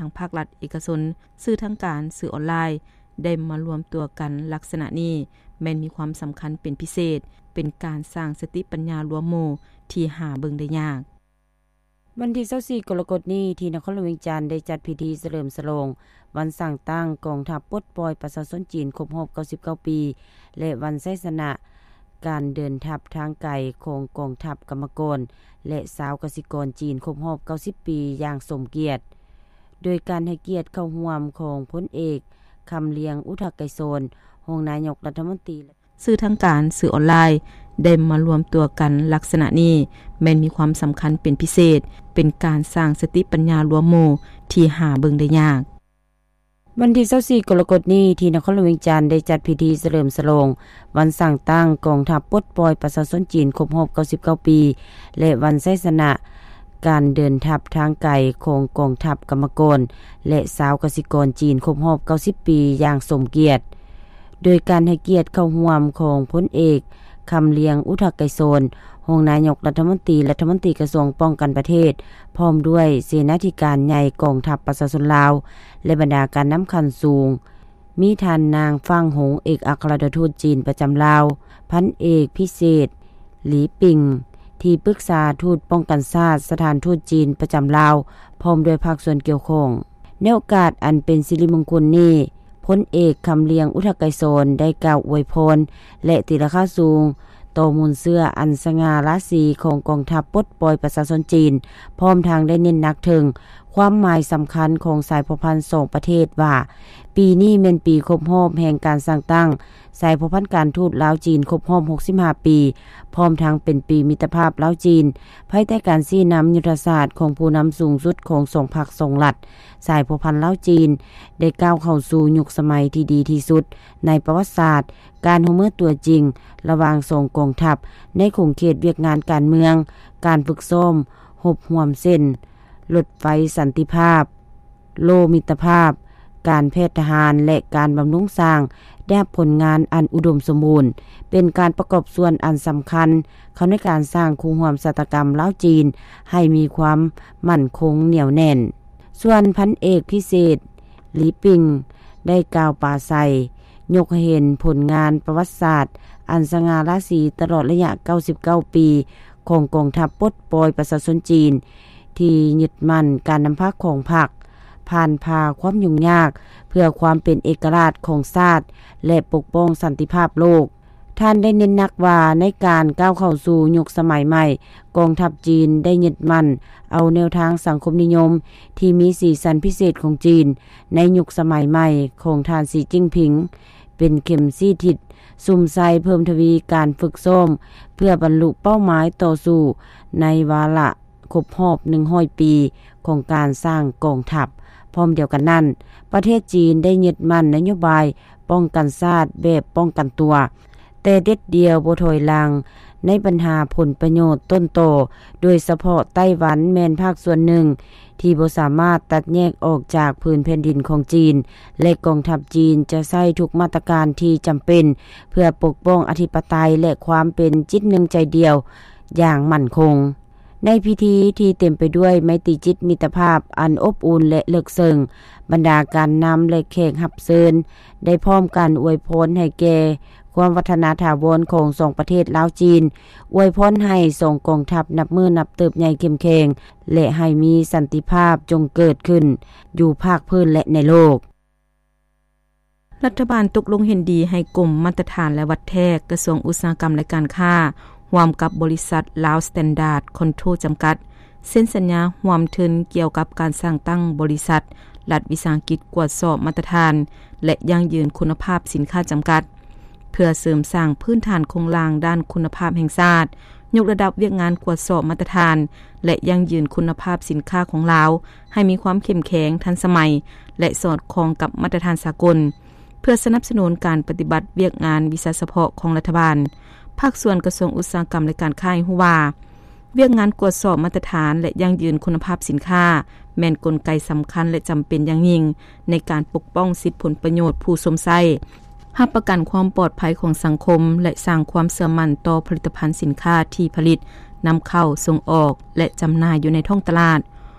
ງພາກລັດເອກະຊົນ, ສື່ທາງການ, ສື່ອອນລາຍ ໄດ້ມາລວມຕົວກັນລັກສະນະນີ້ ແມ່ນມີຄວາມສຳຄັນເປັນພິເສດ, ເປັນການສ້າງສະຕິປັນຍາລວມໝູ່ທີ່ຫາເບິ່ງໄດ້ຍາກ. ວັນທີຊາວສີ່ ກໍລະກົດນີ້ ທີ່ນະຄອນຫຼວງວຽງຈັນ ໄດ້ຈັດພິທີສະເຫຼີມສະຫຼອງວັນສ້າງຕັ້ງກອງທັບປົດປ່ອຍປະຊາຊົນຈີນຄົບຮອບເກົ້າສິບເກົ້າປີ ແລະ ວັນໄຊຊະນະການເດີນທັບທາງໄກຂອງກອງທັບກຳມະກອນ ແລະ ຊາວກະສິກອນຈີນຄົບຮອບເກົ້າສິບປີຢ່າງສົມກຽດ, ໂດຍການໃຫ້ກຽດເຂົ້າຮ່ວມຂອງພົນເອກ ຄຳລຽງ ອຸທະໄກສອນ ຮອງນາຍົກລັດຖະມົນຕີ. ສື່ທາງການ, ສື່ອອນລາຍ ໄດ້ມາລວມຕົວກັນລັກສະນະນີ້ ແມ່ນມີຄວາມສຳຄັນເປັນພິເສດ, ເປັນການສ້າງສະຕິປັນຍາລວມໝູ່ທີ່ຫາເບິ່ງໄດ້ຍາກ. ວັນທີຊາວສີ່ ກໍລະກົດນີ້ ທີ່ນະຄອນຫຼວງວຽງຈັນ ໄດ້ຈັດພິທີສະເຫຼີມສະຫຼອງວັນສ້າງຕັ້ງກອງທັບປົດປ່ອຍປະຊາຊົນຈີນຄົບຮອບເກົ້າສິບເກົ້າປີ ແລະ ວັນໄຊຊະນະການເດີນທັບທາງໄກຂອງກອງທັບກຳມະກອນ ແລະ ຊາວກະສິກອນຈີນຄົບຮອບເກົ້າສິບປີຢ່າງສົມກຽດ, ໂດຍການໃຫ້ກຽດເຂົ້າຮ່ວມຂອງພົນເອກ ຄຳລຽງ ອຸທະໄກສອນ ຮອງນາຍົກລັດຖະມົນຕີ ລັດຖະມົນຕີກະຊວງປ້ອງກັນປະເທດ ພ້ອມດ້ວຍເສນາທິການໃຫຍ່ກອງທັບປະຊາຊົນລາວ ແລະ ບັນດາການນຳຂັ້ນສູງ, ມີທ່ານນາງ ຟາງ ຫົງ ເອກອັກຄະລັດຖະທູດຈີນປະຈຳລາວ, ພັນເອກ ພິເສດ ຫຼີ ປິງ ທີ່ປຶກສາທູດປ້ອງກັນຊາດສະຖານທູດຈີນປະຈຳລາວ ພ້ອມດ້ວຍພາກສ່ວນກ່ຽວຂ້ອງ. ໃນໂອກາດອັນເປັນສິລິມົງຄຸນນີ້, ພົນເອກ ຄຳລຽງ ອຸທະໄກສອນ ໄດ້ກ່າວອວຍພອນ ແລະ ຕີລາຄາສູງຕໍ່ມູນເຊື້ອອັນສະຫງ່າລາສີຂອງກອງທັບປົດປ່ອຍປະຊາຊົນຈີນ, ພ້ອມທັງໄດ້ເນັ້ນໜັກເຖິງຄວາມໝາຍສຳຄັນຂອງສາຍພົວພັນສອງປະເທດວ່າ, ປີນີ້ແມ່ນປີຄົບຮອບແຫ່ງການສ້າງຕັ້ງສາຍພົວພັນການທູດລາວຈີນຄົບຮອບຫົກສິບຫ້າປີ, ພ້ອມທັງເປັນປີມິດຕະພາບລາວຈີນ, ພາຍໃຕ້ການຊີ້ນຳຍຸດທະສາດຂອງຜູ້ນຳສູງສຸດຂອງສອງພັກສອງລັດ, ສາຍພົວພັນລາວຈີນໄດ້ກ້າວເຂົ້າສູ່ຍຸກສະໄໝທີ່ດີທີ່ສຸດໃນປະຫວັດສາດ, ການຮ່ວມມືຕົວຈິງລະຫວ່າງສອງກອງທັບໃນຂົງເຂດວຽກງານການເມືອງ, ການຝຶກຊ້ອມຮົບຮ່ວມເຊັ່ນ ລົດໄຟສັນຕິພາບ, ໂລ່ມິດຕະພາບ, ການແພດທະຫານ ແລະ ການບຳລຸງສ້າງ ໄດ້ຮັບຜົນງານອັນອຸດົມສົມບູນ, ເປັນການປະກອບສ່ວນອັນສຳຄັນເຂົ້າໃນການສ້າງຄູ່ຮ່ວມຊະຕາກຳລາວຈີນໃຫ້ມີຄວາມໝັ້ນຄົງໜຽວແໜ້ນ. ສ່ວນພັນເອກພິເສດ ຫຼີ ປິງ ໄດ້ກ່າວປາໄສ ຍົກໃຫ້ເຫັນຜົນງານປະຫວັດສາດອັນສະຫງ່າລາສີຕະຫຼອດໄລຍະເກົ້າສິບເກົ້າປີຂອງກອງທັບປົດປ່ອຍປະຊາຊົນຈີນ ທີ່ຍຶດໝັ້ນການນຳພາຂອງພັກ, ຜ່ານຜ່າຄວາມຫຍຸ້ງຍາກເພື່ອຄວາມເປັນເອກະລາດຂອງຊາດ ແລະ ປົກປ້ອງສັນຕິພາບໂລກ. ທ່ານໄດ້ເນັ້ນໜັກວ່າ ໃນການກ້າວເຂົ້າສູ່ຍຸກສະໄໝໃໝ່, ກອງທັບຈີນໄດ້ຍຶດໝັ້ນເອົາແນວທາງສັງຄົມນິຍົມທີ່ມີສີສັນພິເສດຂອງຈີນໃນຍຸກສະໄໝໃໝ່ຂອງທ່ານ ສີ ຈິ້ນຜິງ ເປັນເຂັມຊີ້ທິດ, ສຸມໃສ່ເພີ່ມທະວີການຝຶກຊ້ອມເພື່ອບັນລຸເປົ້າໝາຍຕໍ່ສູ້ໃນວາລະຄົບຮອບໜຶ່ງຮ້ອຍປີຂອງການສ້າງກອງທັບ. ພ້ອມດຽວກັນນັ້ນ, ປະເທດຈີນໄດ້ຍຶດໝັ້ນນະໂຍບາຍປ້ອງກັນຊາດແບບປ້ອງກັນຕົວ, ແຕ່ເດັດດ່ຽວບໍ່ຖອຍຫຼັງໃນບັນຫາຜົນປະໂຫຍດຕົ້ນຕໍ, ໂດຍສະເພາະໄຕ້ຫວັນແມ່ນພາກສ່ວນໜຶ່ງທີ່ບໍ່ສາມາດຕັດແຍກອອກຈາກພື້ນແຜ່ນດິນຂອງຈີນ, ແລະ ກອງທັບຈີນຈະໃຊ້ທຸກມາດຕະການທີ່ຈຳເປັນເພື່ອປົກປ້ອງອະທິປະໄຕ ແລະ ຄວາມເປັນຈິດໜຶ່ງໃຈດຽວຢ່າງໝັ້ນຄົງ. ໃນພິທີທີ່ເຕັມໄປດ້ວຍໄມຕີຈິດມິດຕະພາບອັນອົບອຸ່ນ ແລະ ເລິກເຊິ່ງ, ບັນດາການນຳ ແລະ ແຂກຮັບເຊີນໄດ້ພ້ອມກັນອວຍພອນໃຫ້ແກ່ຄວາມວັດທະນາຖາວອນຂອງສອງປະເທດລາວ-ຈີນ, ອວຍພອນໃຫ້ສອງກອງທັບນັບມື້ນັບເຕີບໃຫຍ່ເຂັ້ມແຂງ ແລະ ໃຫ້ມີສັນຕິພາບຈົ່ງເກີດຂຶ້ນຢູ່ພາກພື້ນ ແລະ ໃນໂລກ. ລັດຖະບານຕົກລົງເຫັນດີໃຫ້ກົມມາດຕະຖານ ແລະ ວັດແທກ ກະຊວງອຸດສາຫະກຳ ແລະ ການຄ້າ ຮ່ວມກັບບໍລິສັດ Lao Standard Control ຈຳກັດ ເຊັນສັນຍາຮ່ວມທຶນກ່ຽວກັບການສ້າງຕັ້ງບໍລິສັດລັດວິສາຫະກິດກວດສອບມາດຕະຖານ ແລະ ຢັ້ງຢືນຄຸນນະພາບສິນຄ້າຈຳກັດ ເພື່ອເສີມສ້າງພື້ນຖານໂຄງລ່າງດ້ານຄຸນນະພາບແຫ່ງຊາດ, ຍົກລະດັບວຽກງານກວດສອບມາດຕະຖານ ແລະ ຢັ້ງຢືນຄຸນນະພາບສິນຄ້າຂອງລາວໃຫ້ມີຄວາມເຂັ້ມແຂງ, ທັນສະໄໝ ແລະ ສອດຄ່ອງກັບມາດຕະຖານສາກົນ, ເພື່ອສະໜັບສະໜູນການປະຕິບັດວຽກງານວິຊາສະເພາະຂອງລັດຖະບານ. ພາກສ່ວນກະຊວງອຸດສາຫະກຳ ແລະ ການຄ້າໃຫ້ຮູ້ວ່າ, ວຽກງານກວດສອບມາດຕະຖານ ແລະ ຢັ້ງຢືນຄຸນນະພາບສິນຄ້າ ແມ່ນກົນໄກສຳຄັນ ແລະ ຈຳເປັນຢ່າງຍິ່ງໃນການປົກປ້ອງສິດຜົນປະໂຫຍດຜູ້ຊົມໃຊ້, ຮັບປະກັນຄວາມປອດໄພຂອງສັງຄົມ ແລະ ສ້າງຄວາມເຊື່ອໝັ້ນຕໍ່ຜະລິດຕະພັນສິນຄ້າທີ່ຜະລິດ, ນຳເຂົ້າ, ສົ່ງອອກ ແລະ ຈຳໜ່າຍຢູ່ໃນທ້ອງຕະຫຼາດ.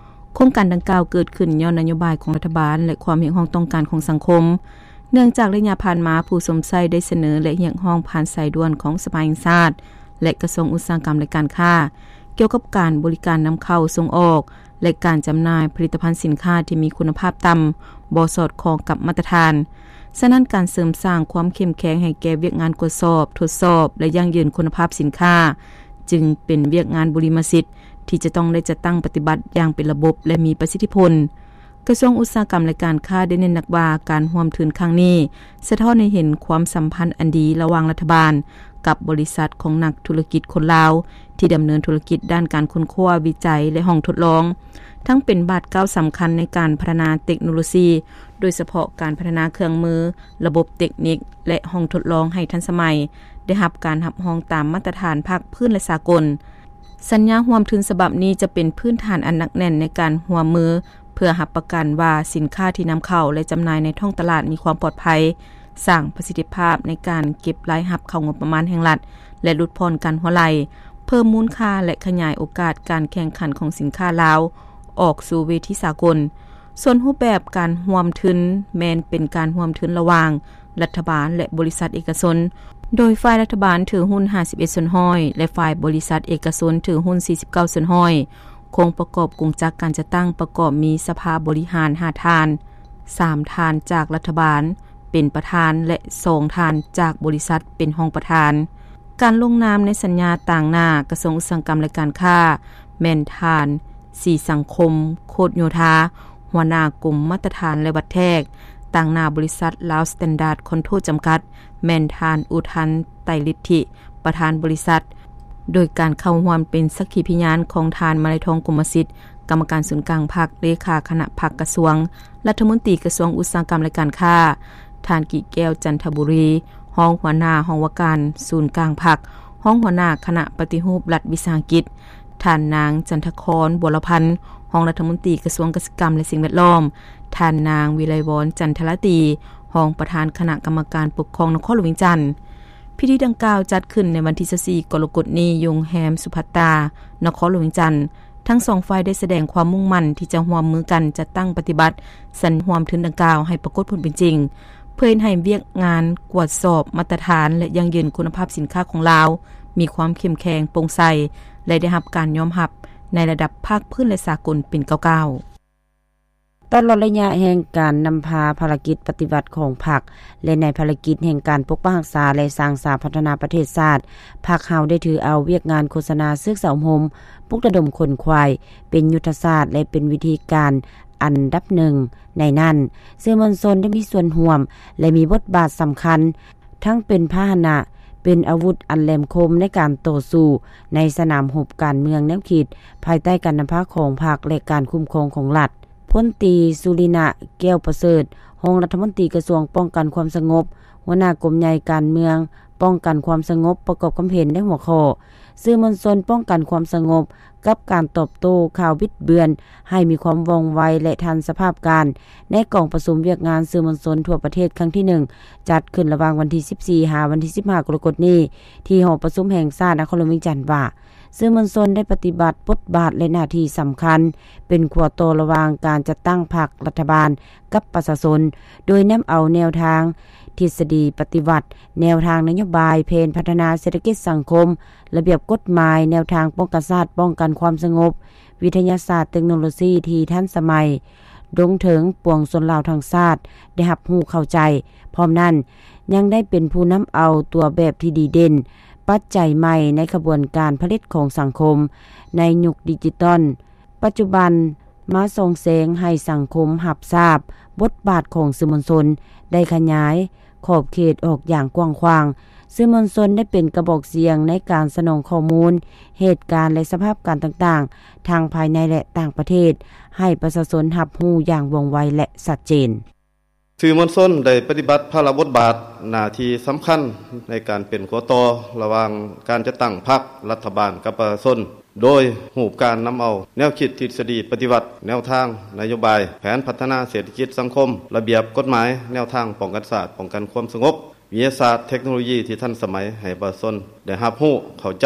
ໂຄງການດັ່ງກ່າວເກີດຂຶ້ນຍ້ອນນະໂຍບາຍຂອງລັດຖະບານ ແລະ ຄວາມຮຽກຮ້ອງຕ້ອງການຂອງສັງຄົມ, ເນື່ອງຈາກໄລຍະຜ່ານມາ ຜູ້ຊົມໃຊ້ໄດ້ສະເໜີ ແລະ ຮຽກຮ້ອງຜ່ານສາຍດ່ວນຂອງສະພາແຫ່ງຊາດ ແລະ ກະຊວງອຸດສາຫະກຳ ແລະ ການຄ້າ ກ່ຽວກັບການບໍລິການນຳເຂົ້າສົ່ງອອກ ແລະ ການຈຳໜ່າຍຜະລິດຕະພັນສິນຄ້າທີ່ມີຄຸນນະພາບຕ່ຳ, ບໍ່ສອດຄ່ອງກັບມາດຕະຖານ. ສະນັ້ນ, ການເສີມສ້າງຄວາມເຂັ້ມແຂງໃຫ້ແກ່ວຽກງານກວດສອບ, ທົດສອບ ແລະ ຢັ້ງຢືນຄຸນນະພາບສິນຄ້າ ຈຶ່ງເປັນວຽກງານບຸລິມະສິດທີ່ຈະຕ້ອງໄດ້ຈັດຕັ້ງປະຕິບັດຢ່າງເປັນລະບົບ ແລະ ມີປະສິດທິຜົນ. ກະຊວງອຸດສາຫະກຳ ແລະ ການຄ້າໄດ້ເນັ້ນໜັກວ່າ ການຮ່ວມທຶນຄັ້ງນີ້ສະທ້ອນໃຫ້ເຫັນຄວາມສຳພັນອັນດີລະຫວ່າງລັດຖະບານກັບບໍລິສັດຂອງນັກທຸລະກິດຄົນລາວ ທີ່ດຳເນີນທຸລະກິດດ້ານການຄົ້ນຄວ້າ, ວິໄຈ ແລະ ຫ້ອງທົດລອງ, ທັງເປັນບາດກ້າວສຳຄັນໃນການພັດທະນາເຕັກໂນໂລຊີ, ໂດຍສະເພາະການພັດທະນາເຄື່ອງມື, ລະບົບເຕັກນິກ ແລະ ຫ້ອງທົດລອງໃຫ້ທັນສະໄໝ, ໄດ້ຮັບການຮັບຮອງຕາມມາດຕະຖານພາກພື້ນ ແລະ ສາກົນ. ສັນຍາຮ່ວມທຶນສະບັບນີ້ຈະເປັນພື້ນຖານອັນໜັກແໜ້ນໃນການຮ່ວມມື ເພື່ອຮັບປະກັນວ່າສິນຄ້າທີ່ນຳເຂົ້າ ແລະ ຈຳໜ່າຍໃນທ້ອງຕະຫຼາດມີຄວາມປອດໄພ, ສ້າງປະສິດທິພາບໃນການເກັບລາຍຮັບເຂົ້າງົບປະມານແຫ່ງລັດ ແລະ ຫຼຸດຜ່ອນການຮົ່ວໄຫຼ, ເພີ່ມມູນຄ່າ ແລະ ຂະຫຍາຍໂອກາດການແຂ່ງຂັນຂອງສິນຄ້າລາວອອກສູ່ເວທີສາກົນ. ສ່ວນຮູບແບບການຮ່ວມທຶນແມ່ນເປັນການຮ່ວມທຶນລະຫວ່າງ ລັດຖະບານ ແລະ ບໍລິສັດເອກະຊົນ, ໂດຍຝ່າຍລັດຖະບານຖືຫຸ້ນຫ້າສິບເອັດສ່ວນຮ້ອຍ ແລະ ຝ່າຍບໍລິສັດເອກະຊົນຖືຫຸ້ນສີ່ສິບເກົ້າສ່ວນຮ້ອຍ. ໂຄງປະກອບກົງຈັກການຈັດຕັ້ງປະກອບມີສະພາບໍລິຫານຫ້າທ່ານ, ສາມທ່ານຈາກລັດຖະບານເປັນປະທານ ແລະ ສອງທ່ານຈາກບໍລິສັດເປັນຮອງປະທານ. ການລົງນາມໃນສັນຍາຕາງໜ້າກະຊວງອຸດສາຫະກຳ ແລະ ການຄ້າ ແມ່ນທ່ານ ສີສັງຄົມ ໂຄດໂຍທາ ຫົວໜ້າກົມມາດຕະຖານ ແລະ ວັດແທກ, ຕາງໜ້າບໍລິສັດລາວສະແຕນດາດຄອນໂທຣຈຳກັດ ແມ່ນທ່ານ ອຸທັນ ໄຕລິດທິ ປະທານບໍລິສັດ, ໂດຍການເຂົ້າຮ່ວມເປັນສັກຂີພິຍານຂອງທ່ານ ມາໄລທອງ ກົມມະສິດ ກຳມະການສູນກາງພັກ, ເລຂາຄະນະພັກກະຊວງ, ລັດຖະມົນຕີກະຊວງອຸດສາຫະກຳ ແລະ ການຄ້າ, ທ່ານ ກິແກ້ວ ຈັນທະບູລີ ຮອງຫົວໜ້າຫ້ອງວ່າການສູນກາງພັກ, ຮອງຫົວໜ້າຄະນະປະຕິຮູບລັດວິສາຫະກິດ, ທ່ານນາງ ຈັນທະຄອນ ບົວລະພັນ ຮອງລັດຖະມົນຕີກະຊວງກະສິກຳ ແລະ ສິ່ງແວດລ້ອມ, ທ່ານນາງ ວິໄລວອນ ຈັນທະລາຕີ ຮອງປະທານຄະນະກຳມະການປົກຄອງນະຄອນຫຼວງວຽງຈັນ. ພິທີດັ່ງກ່າວຈັດຂຶ້ນໃນວັນທີຊາວສີ່ ກໍລະກົດນີ້ ຢູ່ໂຮງແຮມສຸພັດຕາ ນະຄອນຫຼວງວຽງຈັນ. ທັງສອງຝ່າຍໄດ້ສະແດງຄວາມມຸ່ງໝັ້ນທີ່ຈະຮ່ວມມືກັນຈັດຕັ້ງປະຕິບັດສັນຍາຮ່ວມທຶນດັ່ງກ່າວໃຫ້ປາກົດຜົນເປັນຈິງ, ເພື່ອເຮັດໃຫ້ວຽກງານກວດສອບມາດຕະຖານ ແລະ ຢັ້ງຢືນຄຸນນະພາບສິນຄ້າຂອງລາວມີຄວາມເຂັ້ມແຂງ, ໂປ່ງໃສ ແລະ ໄດ້ຮັບການຍອມຮັບໃນລະດັບພາກພື້ນ ແລະ ສາກົນເປັນກ້າວໆ. ຕະຫຼອດໄລຍະແຫ່ງການນຳພາພາລະກິດປະຕິວັດຂອງພັກ ແລະ ໃນພາລະກິດແຫ່ງການປົກປັກຮັກສາ ແລະ ສ້າງສາພັດທະນາປະເທດຊາດ, ພັກເຮົາໄດ້ຖືເອົາວຽກງານໂຄສະນາເຊືອກສາອົບຮົມ, ປຸກລະດົມຂົນຂວາຍ ເປັນຍຸດທະສາດ ແລະ ເປັນວິທີການອັນດັບໜຶ່ງ. ໃນນັ້ນ, ສື່ມວນຊົນໄດ້ມີສ່ວນຮ່ວມ ແລະ ມີບົດບາດສຳຄັນ, ທັງເປັນພາຫະນະ, ເປັນອາວຸດອັນແຫຼມຄົມໃນການຕໍ່ສູ້ໃນສະໜາມຮົບການເມືອງແນວຄິດ ພາຍໃຕ້ການນຳພາຂອງພັກ ແລະ ການຄຸ້ມຄອງຂອງລັດ. ພົນຕີ ສຸລິນະ ແກ້ວປະເສີດ ຮອງລັດຖະມົນຕີກະຊວງປ້ອງກັນຄວາມສະຫງົບ, ຫົວໜ້າກົມໃຫຍ່ການເມືອງປ້ອງກັນຄວາມສະຫງົບ ປະກອບຄຳເຫັນໃນຫົວຂໍ້ ສື່ມວນຊົນປ້ອງກັນຄວາມສະຫງົບ ກັບການຕອບໂຕ້ຂ່າວບິດເບືອນໃຫ້ມີຄວາມວ່ອງໄວ ແລະ ທັນສະພາບການ ໃນກອງປະຊຸມວຽກງານສື່ມວນຊົນທົ່ວປະເທດຄັ້ງທີໜຶ່ງ ຈັດຂຶ້ນລະຫວ່າງວັນທີສິບສີ່ ຫາ ວັນທີສິບຫ້າ ກໍລະກົດນີ້ ທີ່ຫໍປະຊຸມແຫ່ງຊາດນະຄອນຫຼວງວຽງຈັນວ່າ ສື່ມວນຊົນໄດ້ປະຕິບັດບົດບາດ ແລະ ໜ້າທີ່ສຳຄັນ ເປັນຂົວຕໍ່ລະຫວ່າງການຈັດຕັ້ງພັກ, ລັດຖະບານ ກັບປະຊາຊົນ, ໂດຍນຳເອົາແນວທາທິດສະດີປະຕິວັດ, ແນວທາງນະໂຍບາຍ, ແຜນພັດທະນາເສດຖະກິດສັງຄົມ, ລະບຽບກົດໝາຍ, ແນວທາງປ້ອງກັນຊາດ, ປ້ອງກັນຄວາມສະຫງົບ, ວິທະຍາສາດ, ເຕັກໂນໂລຊີທີ່ທັນສະໄໝ, ລົງເຖິງປວງຊົນລາວທັງຊາດໄດ້ຮັບຮູ້ເຂົ້າໃຈ. ພ້ອມນັ້ນ, ຍັງໄດ້ເປັນຜູ້ນຳເອົາຕົວແບບທີ່ດີເດັ່ນ, ປັດໄຈໃໝ່ໃນຂະບວນການຜະລິດຂອງສັງຄົມໃນຍຸກດິຈິຕອນ ປັດຈຸບັນ ມາສ່ອງແສງໃຫ້ສັງຄົມຮັບຊາບບົດບາດຂອງສື່ມວນຊົນໄດ້ຂະຫຍາຍຂອບເຂດອອກຢ່າງກວ້າງຂວາງ. ສື່ມວນຊົນໄດ້ເປັນກະບອກສຽງໃນການສະໜອງຂໍ້ມູນເຫດການ ແລະ ສະພາບການຕ່າງໆ ທັງພາຍໃນ ແລະ ຕ່າງປະເທດ ໃຫ້ປະຊາຊົນຮັບຮູ້ຢ່າງວ່ອງໄວ ແລະ ຊັດເຈນ. ສື່ມວນຊົນໄດ້ປະຕິບັດພາລະບົດບາດໜ້າທີ່ສຳຄັນໃນການເປັນຂົວຕໍ່ລະຫວ່າງການຈັດຕັ້ງພັກ, ລັດຖະບານ ກັບປະຊາຊົນ ໂດຍຮູບການນຳເອົາແນວຄິດທິດສະດີປະຕິວັດ, ແນວທາງນະໂຍບາຍ, ແຜນພັດທະນາເສດຖະກິດສັງຄົມ, ລະບຽບກົດໝາຍ, ແນວທາງປ້ອງກັນຊາດ, ປ້ອງກັນຄວາມສະຫງົບ, ວິທະຍາສາດ, ເທັກໂນໂລຢີທີ່ທັນສະໄໝໃຫ້ປະຊາຊົນໄດ້ຮັບຮູ້ເຂົ້າໃຈ.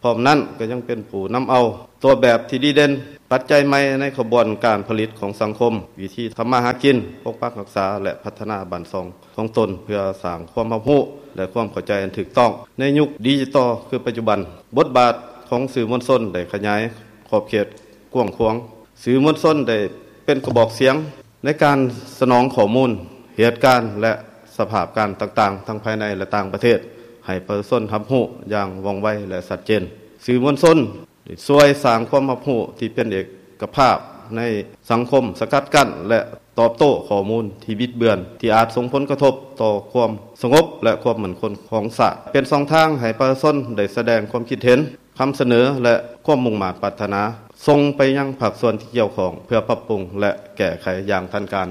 ພ້ອມນັ້ນກໍຍັງເປັນຜູ້ນຳເອົາຕົວແບບທີ່ດີເດັ່ນ ປັດໄຈໃໝ່ໃນຂະບວນການຜະລິດຂອງສັງຄົມ, ວິທີທຳມາຫາກິນ, ປົກປັກຮັກສາ ແລະ ພັດທະນາບ້ານຊ່ອງຂອງຕົນ ເພື່ອສ້າງຄວາມຮັບຮູ້ ແລະ ຄວາມເຂົ້າໃຈອັນຖືກຕ້ອງ. ໃນຍຸກດິຈິຕອນຄືປັດຈຸບັນ, ບົດບາດຂອງສື່ມວນຊົນໄດ້ຂະຫຍາຍຂອບເຂດກວ້າງຂວາງ. ສື່ມວນຊົນໄດ້ເປັນກະບອກສຽງໃນການສະໜອງຂໍ້ມູນ, ເຫດການ ແລະ ສະພາບການຕ່າງໆ ທັງພາຍໃນ ແລະ ຕ່າງປະເທດ ໃຫ້ປະຊາຊົນຮັບຮູ້ຢ່າງວ່ອງໄວ ແລະ ຊັດເຈນ. ສື່ມວນຊົນ ໄດ້ຊ່ວຍສ້າງຄວາມຮັບຮູ້ທີ່ເປັນເອກະພາບໃນສັງຄົມ, ສະກັດກັ້ນ ແລະ ຕອບໂຕ້ຂໍ້ມູນທີ່ບິດເບືອນ ທີ່ອາດສົ່ງຜົນກະທົບຕໍ່ຄວາມສະຫງົບ ແລະ ຄວາມໝັ້ນຄົງຂອງຊາດ. ເປັນຊ່ອງທາງໃຫ້ປະຊາຊົນໄດ້ສະແດງຄວາມຄິດເຫັນ, ຄຳສະເໜີ ແລະ ຄວາມມຸ່ງມາດປາດຖະໜາ ສົ່ງໄປຍັງພາກສ່ວນທີ່ກ່ຽວຂ້ອງ ເພື່ອປັບປຸງ ແລະ ແກ້ໄຂຢ່າງທັນການ.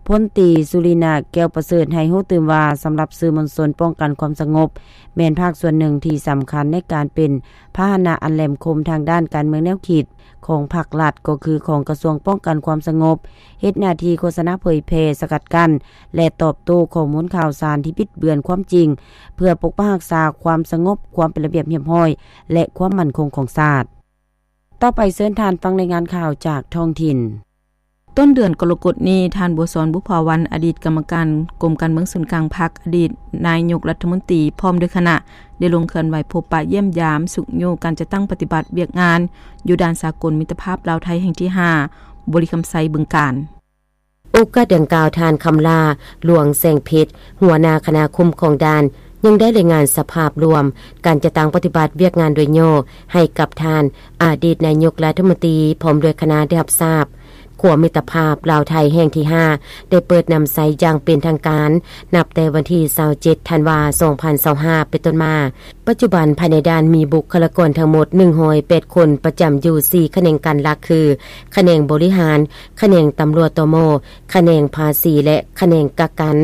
ພົນຕີ ສຸລິນາ ແກ້ວປະເສີດ ໃຫ້ຮູ້ຕື່ມວ່າ ສຳລັບສື່ມວນຊົນປ້ອງກັນຄວາມສະຫງົບ ແມ່ນພາກສ່ວນໜຶ່ງທີ່ສຳຄັນໃນການເປັນພາຫະນະອັນແຫຼມຄົມທາງດ້ານການເມືອງແນວຄິດຂອງພາກລັດ ກໍຄືຂອງກະຊວງປ້ອງກັນຄວາມສະຫງົບ, ເຮັດໜ້າທີ່ໂຄສະນາເຜີຍແຜ່, ສະກັດກັ້ນ ແລະ ຕອບໂຕ້ຂໍ້ມູນຂ່າວສານທີ່ບິດເບືອນຄວາມຈິງ ເພື່ອປົກປັກຮັກສາຄວາມສະຫງົບ, ຄວາມເປັນລະບຽບຮຽບຮ້ອຍ ແລະ ຄວາມໝັ້ນຄົງຂອງຊາດ. ຕໍ່ໄປເຊີນທ່ານຟັງລາຍງານຂ່າວຈາກທ້ອງຖິ່ນ. ຕົ້ນເດືອນກໍລະກົດນີ້, ທ່ານ ບົວສອນ ບຸບຜາວັນ ອະດີດກຳມະການກົມການເມືອງສູນກາງພັກ, ອະດີດນາຍົກລັດຖະມົນຕີ ພ້ອມດ້ວຍຄະນະ ໄດ້ລົງເຄື່ອນໄຫວພົບປະຢ້ຽມຢາມຊຸກຍູ້ການຈັດຕັ້ງປະຕິບັດວຽກງານ ຢູ່ດ່ານສາກົນມິດຕະພາບລາວໄທແຫ່ງທີຫ້າ ບໍລິຄຳໄຊ ບຶງການ. ໂອກາດດັ່ງກ່າວ, ທ່ານ ຄຳຫຼ້າ ຫຼວງແສງເພັດ ຫົວໜ້າຄະນະຄຸ້ມຄອງດ່ານ ຍັງໄດ້ລາຍງານສະພາບລວມການຈັດຕັ້ງປະຕິບັດວຽກງານໂດຍຫຍໍ້ໃຫ້ກັບທ່ານ ອະດີດນາຍົກລັດຖະມົນຕີ ພ້ອມດ້ວຍຄະນະໄດ້ຮັບຊາບ. ຂົວມິດຕະພາບລາວໄທແຫ່ງທີຫ້າ ໄດ້ເປີດນຳໃຊ້ຢ່າງເປັນທາງການ ນັບແຕ່ວັນທີຊາວເຈັດ ທັນວາ ສອງພັນຊາວຫ້າ ເປັນຕົ້ນມາ. ປັດຈຸບັນ, ພາຍໃນດ່ານມີບຸກຄະລາກອນທັງໝົດ ໜຶ່ງຮ້ອຍແປດຄົນ ປະຈຳຢູ່ສີ່ຂະແໜງການຫຼັກ ຄື ຂະແໜງບໍລິຫານ, ຂະແໜງຕຳຫຼວດ ຕມ, ຂະແໜງພາສີ ແລະ ຂະແໜງກັກກັນ,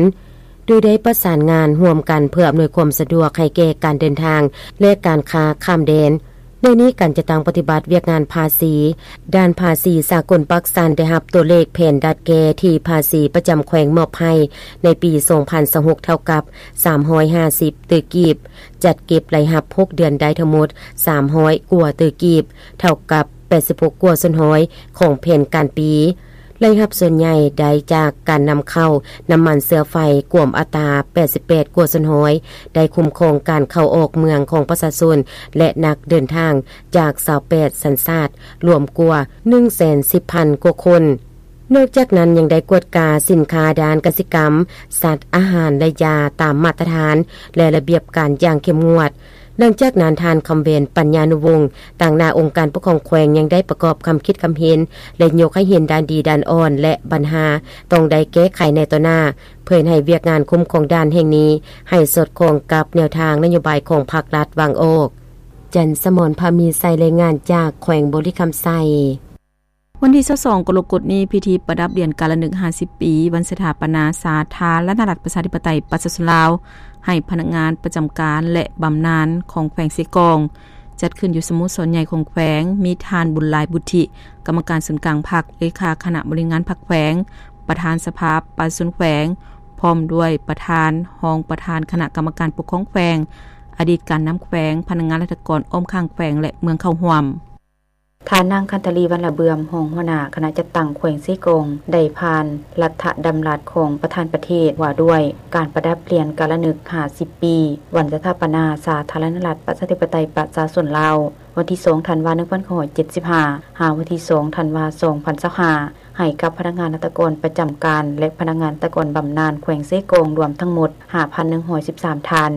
ໂດຍໄດ້ປະສານງານຮ່ວມກັນເພື່ອອຳນວຍຄວາມສະດວກໃຫ້ແກ່ການເດີນທາງ ແລະ ການຄ້າຂ້າມແດນ. ໃນນີ້, ການຈັດຕັ້ງປະຕິບັດວຽກງານພາສີ, ດ່ານພາສີສາກົນປາກຊັນໄດ້ຮັບຕົວເລກແຜນດັດແກ້ທີ່ພາສີປະຈຳແຂວງມອບໃຫ້ໃນປີສອງພັນຊາວຫົກ ເທົ່າກັບສາມຮ້ອຍຫ້າສິບຕື້ກີບ, ຈັດເກັບລາຍຮັບຫົກເດືອນໄດ້ທັງໝົດສາມຮ້ອຍກວ່າຕື້ກີບ, ເທົ່າກັບແປດສິບຫົກກວ່າສ່ວນຮ້ອຍຂອງແຜນການປີ. ລາຍຮັບສ່ວນໃຫຍ່ໄດ້ຈາກການນຳເຂົ້ານ້ຳມັນເຊື້ອໄຟ ກວມອັດຕາແປດສິບແປດກວ່າສ່ວນຮ້ອຍ, ໄດ້ຄຸ້ມຄອງການເຂົ້າອອກເມືອງຂອງປະຊາຊົນ ແລະ ນັກເດີນທາງຈາກຊາວແປດສັນຊາດ ລວມກວ່າໜຶ່ງແສນສິບພັນກວ່າຄົນ. ນອກຈາກນັ້ນ, ຍັງໄດ້ກວດກາສິນຄ້າດ້ານກະສິກຳ, ສັດ, ອາຫານ ແລະ ຢາຕາມມາດຕະຖານ ແລະ ລະບຽບການຢ່າງເຂັ້ມງວດ. ຫຼັງຈາກນັ້ນ, ທ່ານ ຄຳແຫວນ ປັນຍານຸວົງ ຕາງໜ້າອົງການປົກຄອງແຂວງ ຍັງໄດ້ປະກອບຄຳຄິດຄຳເຫັນ ແລະ ຍົກໃຫ້ເຫັນດ້ານດີດ້ານອ່ອນ ແລະ ບັນຫາຕ້ອງໄດ້ແກ້ໄຂໃນຕໍ່ໜ້າ, ເພື່ອເຮັດໃຫ້ວຽກງານຄຸ້ມຄອງດ່ານແຫ່ງນີ້ໃຫ້ສອດຄ່ອງກັບແນວທາງນະໂຍບາຍຂອງພັກລັດວາງອອກ. ຈັນສະໝອນ ພາມີໄຊ ລາຍງານຈາກແຂວງບໍລິຄຳໄຊ. ວັນທີຊາວສອງ ກໍລະກົດນີ້, ພິທີປະດັບຫຼຽນກາລະນຶກຫ້າສິບປີ ວັນສະຖາປະນາສາທາລະນະລັດ ປະຊາທິປະໄຕ ປະຊາຊົນລາວ ໃຫ້ພະນັກງານປະຈຳການ ແລະ ບຳນານຂອງແຂວງເຊກອງ ຈັດຂຶ້ນຢູ່ສະໂມສອນໃຫຍ່ຂອງແຂວງ, ມີທ່ານ ບຸນຫຼາຍ ບຸດທິ ກຳມະການສູນກາງພັກ, ເລຂາຄະນະບໍລິຫານງານພັກແຂວງ, ປະທານສະພາປະຊາຊົນແຂວງ, ພ້ອມດ້ວຍປະທານ, ຮອງປະທານຄະນະກຳມະການປົກຄອງແຂວງ, ອະດີດການນຳແຂວງ, ພະນັກງານລັດຖະກອນອ້ອມຂ້າງແຂວງ ແລະ ເມືອງເຂົ້າຮ່ວມ. ທ່ານນາງ ຄັນທະລີ ວັນລະເບືອມ ຮອງຫົວໜ້າຄະນະຈັດຕັ້ງແຂວງເຊກອງ ໄດ້ຜ່ານລັດຖະດຳລັດຂອງປະທານປະເທດ ວ່າດ້ວຍການປະດັບຫຼຽນກາລະນຶກຫ້າສິບປີ ວັນສະຖາປະນາສາທາລະນະລັດ ປະຊາທິປະໄຕ ປະຊາຊົນລາວ ວັນທີສອງ ທັນວາ ໜຶ່ງພັນເກົ້າຮ້ອຍເຈັດສິບຫ້າ ຫາວັນທີສອງ ທັນວາ ສອງພັນຊາວຫ້າ ໃຫ້ກັບພະນັກງານລັດຖະກອນປະຈຳການ ແລະ ພະນັກງານລັດຖະກອນບຳນານແຂວງເຊກອງ ລວມທັງໝົດ ຫ້າພັນໜຶ່ງຮ້ອຍສິບສາມ ທ່ານ,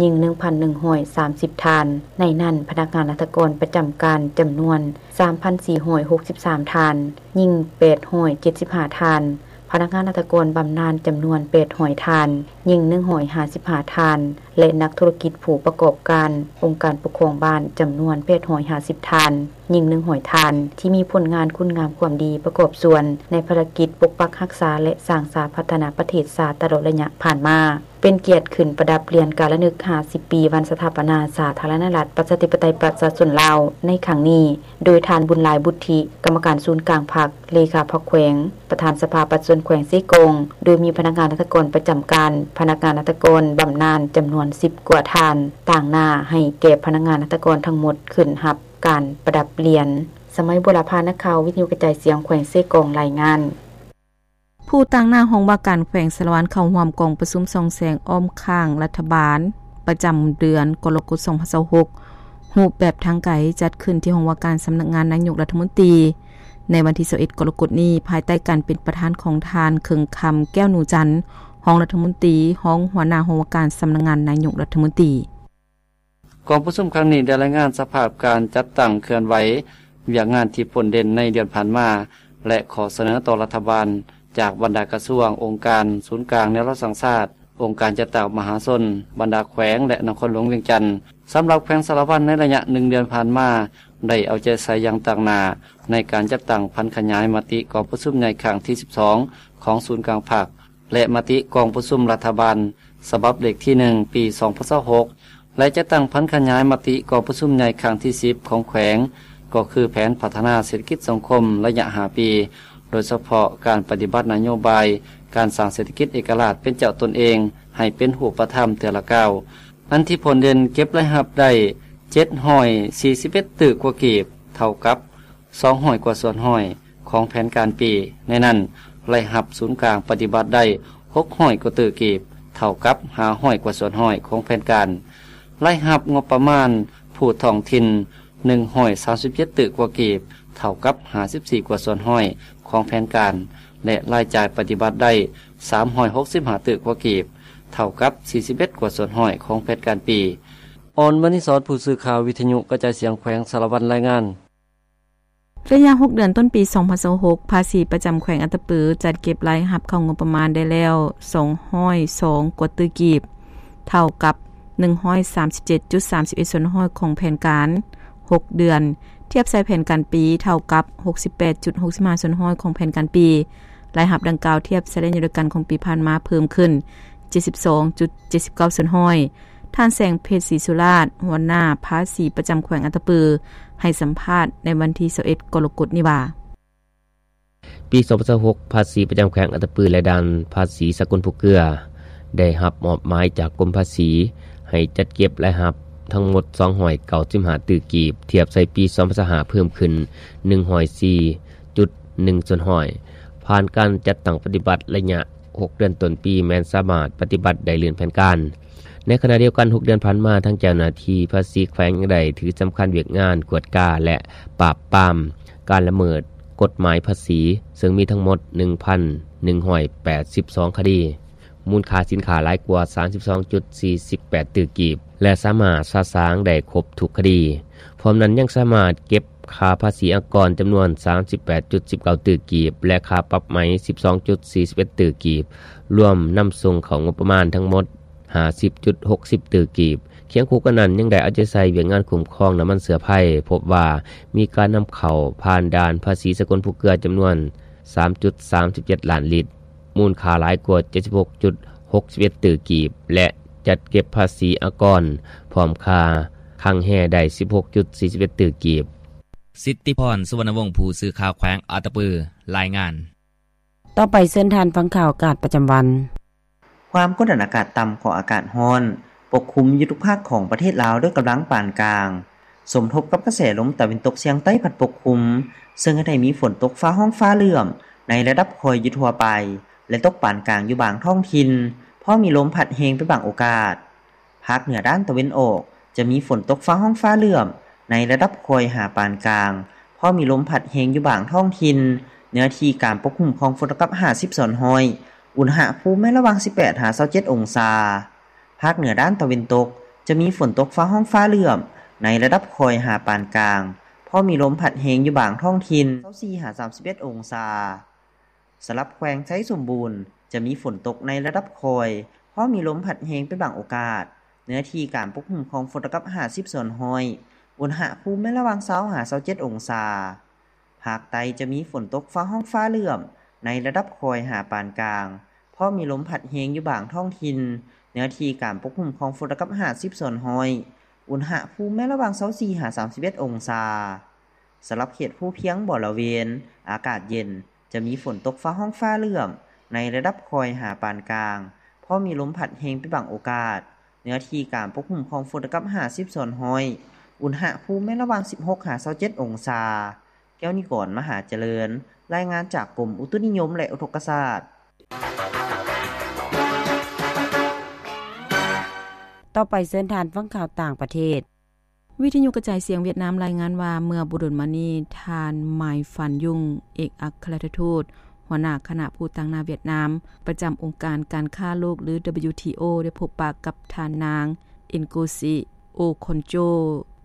ຍິງ ໜຶ່ງພັນໜຶ່ງຮ້ອຍສາມສິບ ທ່ານ, ໃນນັ້ນ ພະນັກງານລັດຖະກອນປະຈຳການຈຳນວນ ສາມພັນສີ່ຮ້ອຍຫົກສິບສາມ ທ່ານ, ຍິງ ແປດຮ້ອຍເຈັດສິບຫ້າ ທ່ານ, ພະນັກງານລັດຖະກອນບຳນານຈຳນວນ ແປດຮ້ອຍ ທ່ານ, ຍິງ ໜຶ່ງຮ້ອຍຫ້າສິບຫ້າ ທ່ານ ແລະ ນັກທຸລະກິດຜູ້ປະກອບການ ອົງການປົກຄອງບ້ານຈຳນວນ ແປດຮ້ອຍຫ້າສິບ ທ່ານ, ຍິງ ໜຶ່ງຮ້ອຍ ທ່ານ ທີ່ມີຜົນງານຄຸນງາມຄວາມດີປະກອບສ່ວນໃນພາລະກິດປົກປັກຮັກສາ ແລະ ສ້າງສາພັດທະນາປະເທດຊາດຕະຫຼອດໄລຍະຜ່ານມາ. ເປັນກຽດຂຶ້ນປະດັບຫຼຽນກາລະນຶກຫ້າສິບປີ ວັນສະຖາປະນາສາທາລະນະລັດ ປະຊາທິປະໄຕ ປະຊາຊົນລາວ ໃນຄັ້ງນີ້ ໂດຍທ່ານ ບຸນຫຼາຍ ບຸດທິ ກຳມະການສູນກາງພັກ, ເລຂາພັກແຂວງ, ປະທານສະພາປະຊາຊົນແຂວງເຊກອງ, ໂດຍມີພະນັກງານລັດຖະກອນປະຈຳການ, ພະນັກງານລັດຖະກອນບຳນານຈຳນວນສິບກວ່າທ່ານ, ຕາງໜ້າໃຫ້ແກ່ພະນັກງານລັດຖະກອນທັງໝົດຂຶ້ນຮັບການປະດັບຫຼຽນ. ສະໄໝ ບົວລະພາ ນັກຂ່າວ ວິທະຍຸກະຈາຍສຽງ ແຂວງເຊກອງ ລາຍງານ. ຜູ້ຕາງໜ້າຫ້ອງວ່າການແຂວງສາລະວັນ ເຂົ້າຮ່ວມກອງປະຊຸມສ່ອງແສງອ້ອມຂ້າງລັດຖະບານ ປະຈຳເດືອນກໍລະກົດ ສອງພັນຊາວຫົກ ຮູບແບບທາງໄກ ຈັດຂຶ້ນທີ່ຫ້ອງວ່າການສຳນັກງານນາຍົກລັດຖະມົນຕີ ໃນວັນທີ ຊາວເອັດ ກໍລະກົດນີ້ ພາຍໃຕ້ການເປັນປະທານຂອງທ່ານ ເຄິ່ງຄຳ ແກ້ວໜູຈັນ ຮອງລັດຖະມົນຕີ ຮອງຫົວໜ້າຫ້ອງວ່າການສຳນັກງານນາຍົກລັດຖະມົນຕີ. ກອງປະຊຸມຄັ້ງນີ້ໄດ້ລາຍງານສະພາບການຈັດຕັ້ງເຄື່ອນໄຫວ, ວຽກງານທີ່ພົ້ນເດັ່ນໃນເດືອນຜ່ານມາ ແລະ ຂໍ້ສະເໜີຕໍ່ລັດຖະບານຈາກບັນດາກະຊວງ, ອົງການສູນກາງແນວລາວສ້າງຊາດ, ອົງການຈັດຕັ້ງມະຫາຊົນ, ບັນດາແຂວງ ແລະ ນະຄອນຫຼວງວຽງຈັນ. ສຳລັບແຂວງສາລະວັນໃນໄລຍະໜຶ່ງເດືອນຜ່ານມາ ໄດ້ເອົາໃຈໃສ່ຢ່າງຕັ້ງໜ້າໃນການຈັດຕັ້ງຜັນຂະຫຍາຍມະຕິກອງປະຊຸມໃຫຍ່ຄັ້ງທີສິບສອງ ຂອງສູນກາງພັກ ແລະ ມະຕິກອງປະຊຸມລັດຖະບານ ສະບັບເລກທີໜຶ່ງ ປີສອງພັນຊາວຫົກ ແລະ ຈັດຕັ້ງຜັນຂະຫຍາຍມະຕິກອງປະຊຸມໃຫຍ່ຄັ້ງທີສິບ ຂອງແຂວງ ກໍຄືແຜນພັດທະນາເສດຖະກິດສັງຄົມໄລຍະຫ້າປີ, ໂດຍສະເພາະການປະຕິບັດນະໂຍບາຍການສ້າງເສດຖະກິດເອກະລາດເປັນເຈົ້າຕົນເອງໃຫ້ເປັນຮູບປະທຳເທື່ອລະກ້າວ, ອັນທີ່ພົ້ນເດັ່ນເກັບລາຍຮັບໄດ້ ເຈັດຮ້ອຍສີ່ສິບເອັດ ຕື້ກວ່າກີບ, ເທົ່າກັບ ສອງຮ້ອຍກວ່າສ່ວນຮ້ອຍຂອງແຜນການປີ, ໃນນັ້ນ ລາຍຮັບສູນກາງປະຕິບັດໄດ້ ຫົກຮ້ອຍກວ່າຕື້ກີບ, ເທົ່າກັບ ຫ້າຮ້ອຍກວ່າສ່ວນຮ້ອຍຂອງແຜນການ, ລາຍຮັບງົບປະມານຜູ້ທ້ອງຖິ່ນ ໜຶ່ງຮ້ອຍສາມສິບເຈັດ ຕື້ກວ່າກີບ, ເທົ່າກັບ ຫ້າສິບສີ່ກວ່າສ່ວນຮ້ອຍຂອງແຜນການ, ແລະ ລາຍຈ່າຍປະຕິບັດໄດ້ ສາມຮ້ອຍຫົກສິບຫ້າ ຕື້ກວ່າກີບ, ເທົ່າກັບ ສີ່ສິບເອັດກວ່າສ່ວນຮ້ອຍຂອງແຜນການປີ. ອອນ ມະນີສອນ ຜູ້ສື່ຂ່າວວິທະຍຸກະຈາຍສຽງແຂວງສາລະວັນລາຍງານ. ໄລຍະຫົກເດືອນຕົ້ນປີສອງພັນຊາວຫົກ ພາສີປະຈຳແຂວງອັດຕະປື ຈັດເກັບລາຍຮັບເຂົ້າງົບປະມານໄດ້ແລ້ວ ສອງຮ້ອຍສອງກວ່າຕື້ກີບ, ເທົ່າກັບ ໜຶ່ງຮ້ອຍສາມສິບເຈັດຈຸດສາມສິບເອັດສ່ວນຮ້ອຍຂອງແຜນການຫົກເດືອນ, ທຽບໃສ່ແຜນການປີ ເທົ່າກັບ ຫົກສິບແປດຈຸດຫົກສິບຫ້າສ່ວນຮ້ອຍຂອງແຜນການປີ. ລາຍຮັບດັ່ງກ່າວທຽບໃສ່ໄລຍະດຽວກັນຂອງປີຜ່ານມາເພີ່ມຂຶ້ນ ເຈັດສິບສອງຈຸດເຈັດສິບເກົ້າສ່ວນຮ້ອຍ. ທ່ານ ແສງເພັດ ສີສຸລາດ ຫົວໜ້າພາສີປະຈຳແຂວງອັດຕະປື ໃຫ້ສຳພາດໃນວັນທີຊາວເອັດ ກໍລະກົດນີ້ວ່າ, ປີສອງພັນຊາວຫົກ ພາສີປະຈຳແຂວງອັດຕະປືແລະດ່ານພາສີສາກົນພູເກືອ ໄດ້ຮັບມອບໝາຍຈາກກົມພາສີ ໃຫ້ຈັດເກັບລາຍຮັບທັງໝົດ ສອງຮ້ອຍເກົ້າສິບຫ້າຕື້ກີບ, ທຽບໃສ່ປີສອງພັນຊາວຫ້າເພີ່ມຂຶ້ນ ໜຶ່ງຮ້ອຍສີ່ຈຸດໜຶ່ງສ່ວນຮ້ອຍ. ຜ່ານການຈັດຕັ້ງປະຕິບັດໄລຍະ ຫົກເດືອນຕົ້ນປີແມ່ນສາມາດປະຕິບັດໄດ້ລື່ນແຜນການ. ໃນຂະນະດຽວກັນ, ຫົກເດືອນຜ່ານມາ, ທາງເຈົ້າໜ້າທີ່ພາສີແຂວງຍັງໄດ້ຖືສຳຄັນວຽກງານກວດກາ ແລະ ປາບປາມການລະເມີດກົດໝາຍພາສີ, ເຊິ່ງມີທັງໝົດ ໜຶ່ງພັນໜຶ່ງຮ້ອຍແປດສິບສອງຄະດີ, ມູນຄ່າສິນຄ້າຫຼາຍກວ່າ ສາມສິບສອງຈຸດສີ່ສິບແປດຕື້ກີບ ແລະ ສາມາດສະສາງໄດ້ຄົບທຸກຄະດີ. ພ້ອມນັ້ນ, ຍັງສາມາດເກັບ ຄ່າພາສີອາກອນຈຳນວນ ສາມສິບແປດຈຸດສິບເກົ້າຕື້ກີບ ແລະ ຄ່າປັບໃໝ ສິບສອງຈຸດສີ່ສິບເອັດຕື້ກີບ, ລວມນຳສົ່ງເຂົ້າງົບປະມານທັງໝົດ ຫ້າສິບຈຸດຫົກສິບຕື້ກີບ. ຄຽງຄູ່ກັນນັ້ນ, ຍັງໄດ້ເອົາໃຈໃສ່ວຽກງານຄຸ້ມຄອງນ້ຳມັນເຊື້ອໄພ, ພົບວ່າມີການນຳເຂົ້າຜ່ານດ່ານພາສີສາກົນພູເກືອຈຳນວນ ສາມຈຸດສາມສິບເຈັດລ້ານລິດ, ມູນຄ່າຫຼາຍກວ່າ ເຈັດສິບຫົກຈຸດຫົກສິບເອັດຕື້ກີບ ແລະ ຈັດເກັບພາສີອາກອນ ພ້ອມຄ່າຄັງແຮ ໄດ້ ສິບຫົກຈຸດສີ່ສິບເອັດຕື້ກີບ. ສິດທິພອນ ສຸວັນນະວົງ ຜູ້ສື່ຂ່າວແຂວງອັດຕະປື ລາຍງານ. ຕໍ່ໄປເຊີນທ່ານຟັງຂ່າວອາກາດປະຈຳວັນ. ຄວາມກົດດັນອາກາດຕ່ຳ ເຄາະອາກາດຮ້ອນປົກຄຸມຢູ່ທຸກພາກຂອງປະເທດລາວດ້ວຍກຳລັງປານກາງ, ສົມທົບກັບກະແສລົມຕາເວັນຕົກສຽງໃຕ້ພັດປົກຄຸມ, ເຊິ່ງເຮັດໃຫ້ມີຝົນຕົກຟ້າຮ້ອງຟ້າເຫຼື້ອມໃນລະດັບຄ່ອຍຢູ່ທົ່ວໄປ ແລະ ຕົກປານກາງຢູ່ບາງທ້ອງຖິ່ນ, ພໍມີລົມພັດແຮງເປັນບາງໂອກາດ. ພາກເໜືອດ້ານຕາເວັນອອກ ຈະມີຝົນຕົກຟ້າຮ້ອງຟ້າເຫຼື້ອມໃນລະດັບຄ່ອຍຫາປານກາງ, ພໍມີລົມພັດແຮງຢູ່ບາງທ້ອງຖິ່ນ, ເນື້ອທີ່ການປົກຄຸມຂອງຝົນເທົ່າກັບ ຫ້າສິບສ່ວນຮ້ອຍ, ອຸນຫະພູມແມ່ນລະຫວ່າງ ສິບແປດຫາຊາວເຈັດອົງສາ. ພາກເໜືອດ້ານຕາເວັນຕົກ ຈະມີຝົນຕົກຟ້າຮ້ອງຟ້າເຫຼື້ອມໃນລະດັບຄ່ອຍຫາປານກາງ, ພໍມີລົມພັດແຮງຢູ່ບາງທ້ອງຖິ່ນ ຊາວສີ່ຫາສາມສິບເອັດອົງສາ. ສຳລັບແຂວງໄຊສົມບູນ ຈະມີຝົນຕົກໃນລະດັບຄ່ອຍ, ພໍມີລົມພັດແຮງເປັນບາງໂອກາດ, ເນື້ອທີ່ການປົກຄຸມຂອງຝົນເທົ່າກັບ ຫ້າສິບສ່ວນຮ້ອຍ, ອຸນຫະພູມແມ່ນລະຫວ່າງ ຊາວຫາຊາວເຈັດອົງສາ. ພາກໃຕ້ຈະມີຝົນຕົກຟ້າຮ້ອງຟ້າເຫຼື້ອມໃນລະດັບຄ່ອຍຫາປານກາງ, ພໍມີລົມພັດແຮງຢູ່ບາງທ້ອງຖິ່ນ, ເນື້ອທີ່ການປົກຄຸມຂອງຝົນເທົ່າກັບ ຫ້າສິບສ່ວນຮ້ອຍ, ອຸນຫະພູມແມ່ນລະຫວ່າງ ຊາວສີ່ຫາສາມສິບເອັດອົງສາ. ສຳລັບເຂດພູພຽງບໍລະເວນ ອາກາດເຢັນ, ຈະມີຝົນຕົກຟ້າຮ້ອງຟ້າເຫຼື້ອມໃນລະດັບຄ່ອຍຫາປານກາງ, ພໍມີລົມພັດແຮງເປັນບາງໂອກາດ, ເນື້ອທີ່ການປົກຄຸມຂອງຝົນເທົ່າກັບ ຫ້າສິບສ່ວນຮ້ອຍ, ອຸນຫະພູມແມ່ນລະຫວ່າງ ສິບຫົກຫາຊາວເຈັດອົງສາ. ແກ້ວນິກອນ ມະຫາຈະເລີນ ລາຍງານຈາກກົມອຸຕຸນິຍົມ ແລະ ອຸທົກກະສາດ. ຕໍ່ໄປເຊີນທ່ານຟັງຂ່າວຕ່າງປະເທດ. ວິທະຍຸກະຈາຍສຽງຫວຽດນາມລາຍງານວ່າ ເມື່ອບໍ່ດົນມານີ້ ທ່ານ ມາຍ ຟານ ຍຸງ ເອກອັກຄະລັດຖະທູດ ຫົວໜ້າຄະນະຜູ້ຕາງໜ້າຫວຽດນາມ ປະຈຳອົງການການຄ້າໂລກ ຫຼື WTO ໄດ້ພົບປະກັບທ່ານນາງ ເອັນໂກຊິ ໂອຄອນໂຈ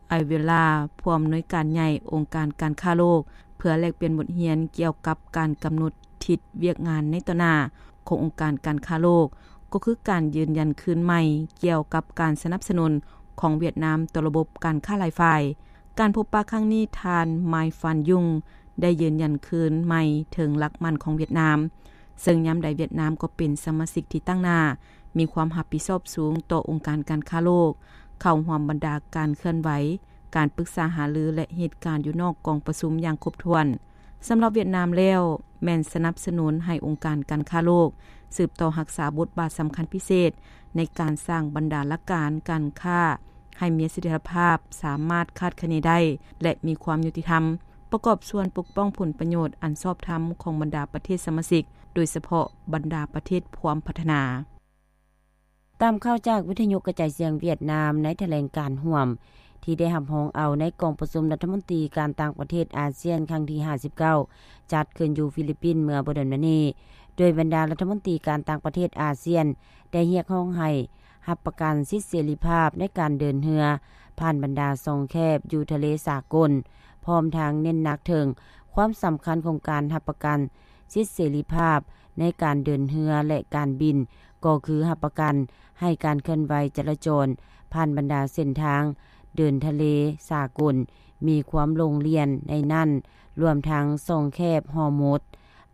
ໄອເວລາ ຜູ້ອຳນວຍການໃຫຍ່ອົງການການຄ້າໂລກ ເພື່ອແລກປ່ຽນບົດຮຽນກ່ຽວກັບການກຳນົດທິດວຽກງານໃນຕໍ່ໜ້າຂອງອົງການການຄ້າໂລກ ກໍຄືການຢືນຢັນຄືນໃໝ່ກ່ຽວກັບການສະໜັບສະໜູນຂອງຫວຽດນາມຕໍ່ລະບົບການຄ້າຫຼາຍຝ່າຍ. ການພົບປະຄັ້ງນີ້ ທ່ານ ມາຍ ຟານ ຍຸງ ໄດ້ຢືນຢັນຄືນໃໝ່ເຖິງຫຼັກໝັ້ນຂອງຫວຽດນາມ, ເຊິ່ງຍາມໃດຫວຽດນາມກໍເປັນສະມາຊິກທີ່ຕັ້ງໜ້າ, ມີຄວາມຮັບຜິດຊອບສູງຕໍ່ອົງການການຄ້າໂລກ, ເຂົ້າຮ່ວມບັນດາການເຄື່ອນໄຫວ, ການປຶກສາຫາລື ແລະ ເຫດການຢູ່ນອກກອງປະຊຸມຢ່າງຄົບຖ້ວນ. ສຳລັບຫວຽດນາມແລ້ວ ແມ່ນສະໜັບສະໜູນໃຫ້ອົງການການຄ້າໂລກສືບຕໍ່ຮັກສາບົດບາດສຳຄັນພິເສດໃນການສ້າງບັນດາຫຼັກການການຄ້າໃຫ້ມີສະຖຽນລະພາບ, ສາມາດຄາດຄະເນໄດ້ ແລະ ມີຄວາມຍຸຕິທຳ, ປະກອບສ່ວນປົກປ້ອງຜົນປະໂຫຍດອັນຊອບທຳຂອງບັນດາປະເທດສະມາຊິກ, ໂດຍສະເພາະບັນດາປະເທດພວມພັດທະນາ. ຕາມຂ່າວຈາກວິທະຍຸກະຈາຍສຽງຫວຽດນາມ ໃນຖະແຫຼງການຮ່ວມທີ່ໄດ້ຮັບຮອງເອົາໃນກອງປະຊຸມລັດຖະມົນຕີການຕ່າງປະເທດອາຊຽນຄັ້ງທີຫ້າສິບເກົ້າ ຈັດຂຶ້ນຢູ່ຟີລິບປິນເມື່ອບໍ່ດົນມານີ້, ໂດຍບັນດາລັດຖະມົນຕີການຕ່າງປະເທດອາຊຽນໄດ້ຮຽກຮ້ອງໃຫ້ຮັບປະກັນສິດເສລີພາບໃນການເດີນເຮືອຜ່ານບັນດາຊ່ອງແຄບຢູ່ທະເລສາກົນ, ພ້ອມທັງເນັ້ນໜັກເຖິງຄວາມສຳຄັນຂອງການຮັບປະກັນ ສິດເສລີພາບໃນການເດີນເຮືອ ແລະ ການບິນ, ກໍຄືຮັບປະກັນໃຫ້ການເຄື່ອນໄຫວຈະລາຈອນຜ່ານບັນດາເສັ້ນທາງເດີນທະເລສາກົນມີຄວາມໂລ່ງລ່ຽນ, ໃນນັ້ນລວມທັງຊ່ອງແຄບຮໍມຸດ.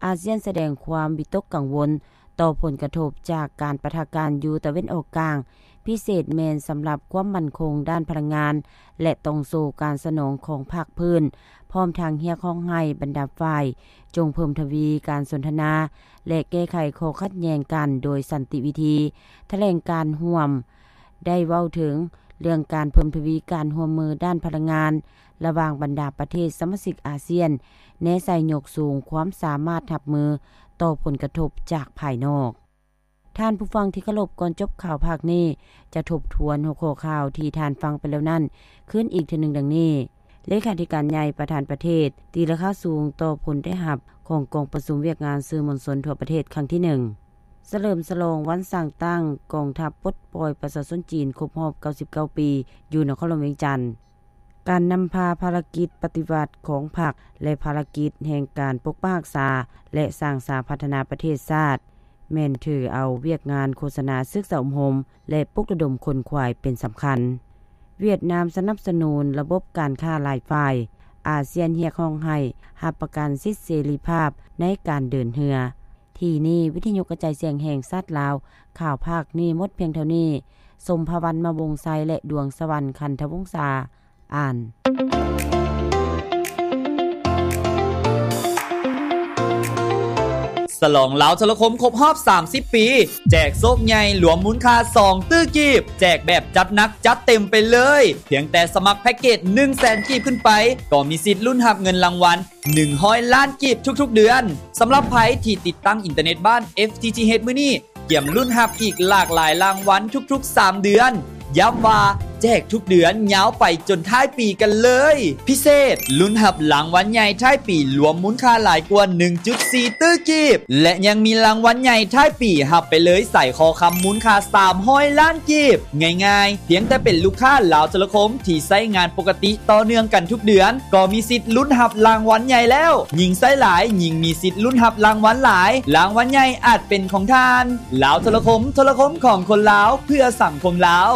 ອາຊຽນສະແດງຄວາມວິຕົກກັງວົນຕໍ່ຜົນກະທົບຈາກການປະທະກັນຢູ່ຕາເວັນອອກກາງ, ພິເສດແມ່ນສຳລັບຄວາມໝັ້ນຄົງດ້ານພະລັງງານ ແລະ ຕ່ອງໂສ້ການສະໜອງຂອງພາກພື້ນ, ພ້ອມທັງຮຽກຮ້ອງໃຫ້ບັນດາຝ່າຍຈົ່ງເພີ່ມທະວີການສົນທະນາ ແລະ ແກ້ໄຂຂໍ້ຂັດແຍ່ງກັນໂດຍສັນຕິວິທີ. ຖະແຫຼງການຮ່ວມໄດ້ເວົ້າເຖິງເລື່ອງການເພີ່ມທະວີການຮ່ວມມືດ້ານພະລັງງານລະຫວ່າງບັນດາປະເທດສະມາຊິກອາຊຽນ, ແນໃສ່ຍົກສູງຄວາມສາມາດຮັບມືຕໍ່ຜົນກະທົບຈາກພາຍນອກ. ທ່ານຜູ້ຟັງທີ່ເຄົາລົບ, ກ່ອນຈົບຂ່າວພາກນີ້ ຈະທົບທວນຫົວຂໍ້ຂ່າວທີ່ທ່ານຟັງໄປແລ້ວນັ້ນຄືນອີກເທື່ອໜຶ່ງ ດັ່ງນີ້. ເລຂາທິການໃຫຍ່ປະທານປະເທດຕີລາຄາສູງຕໍ່ຜົນໄດ້ຮັບຂອງກອງປະຊຸມວຽກງານສື່ມວນຊົນທົ່ວປະເທດຄັ້ງທີໜຶ່ງ. ສະເຫຼີມສະຫຼອງວັນສ້າງຕັ້ງກອງທັບປົດປ່ອຍປະຊາຊົນຈີນຄົບຮອບເກົ້າສິບເກົ້າປີ ຢູ່ນະຄອນຫຼວງວຽງຈັນ. ການນຳພາພາລະກິດປະຕິວັດຂອງພັກ ແລະ ພາລະກິດແຫ່ງການປົກປັກຮັກສາ ແລະ ສ້າງສາພັດທະນາປະເທດຊາດ ແມ່ນຖືເອົາວຽກງານໂຄສະນາສຶກສາອົບຮົມ ແລະ ປຸກລະດົມຂົນຂວາຍເປັນສຳຄັນ. ຫວຽດນາມສະໜັບສະໜູນລະບົບການຄ້າຫຼາຍຝ່າຍ, ອາຊຽນຮຽກຮ້ອງໃຫ້ຮັບປະກັນສິດເສລີພາບໃນການເດີນເຮືອ. ທີ່ນີ້ ວິທະຍຸກະຈາຍສຽງແຫ່ງຊາດລາວ, ຂ່າວພາກນີ້ໝົດພຽງເທົ່ານີ້. ສົມພະວັນ ມະວົງໄຊ ແລະ ດວງສະຫວັນ ຄັນທະວົງສາ ອ່ານ. ສະຫຼອງລາວໂທລະຄົມຄົບຮອບສາມສິບປີ ແຈກໂຊກໃຫຍ່ລວມມູນຄ່າສອງຕື້ກີບ, ແຈກແບບຈັດໜັກຈັດເຕັມໄປເລີຍ. ພຽງແຕ່ສະໝັກແພັກເກດໜຶ່ງແສນກີບຂຶ້ນໄປ ກໍມີສິດລຸ້ນຮັບເງິນລາງວັນ ໜຶ່ງຮ້ອຍລ້ານກີບທຸກໆເດືອນ. ສຳລັບໃຜທີ່ຕິດຕັ້ງອິນເຕີເນັດບ້ານ ເອັຟທີທີເອັດ ມື້ນີ້, ກຽມລຸ້ນຮັບອີກຫຼາກຫຼາຍລາງວັນທຸກໆສາມເດືອນ. ຢ້ຳວ່າແຈກທຸກເດືອນຍາວໄປຈົນທ້າຍປີກັນເລີຍ. ພິເສດ, ລຸ້ນຮັບລາງວັນໃຫຍ່ທ້າຍປີລວມມູນຄ່າຫຼາຍກວ່າໜຶ່ງຈຸດສີ່ຕື້ກີບ ແລະ ຍັງມີລາງວັນໃຫຍ່ທ້າຍປີຮັບໄປເລີຍສາຍຄໍຄຳມູນຄ່າສາມຮ້ອຍລ້ານກີບ. ງ່າຍໆ, ພຽງແຕ່ເປັນລູກຄ້າລາວໂທລະຄົມທີ່ໃຊ້ງານປົກກະຕິຕໍ່ເນື່ອງກັນທຸກເດືອນ ກໍມີສິດລຸ້ນຮັບລາງວັນໃຫຍ່ແລ້ວ. ຍິ່ງໃຊ້ຫຼາຍ, ຍິ່ງມີສິດລຸ້ນຮັບລາງວັນຫຼາຍ. ລາງວັນໃຫຍ່ອາດເປັນຂອງທ່ານ. ລາວໂທລະຄົມ, ໂທລະຄົມຂອງຄົນລາວ, ເພື່ອສັງຄົມລາວ.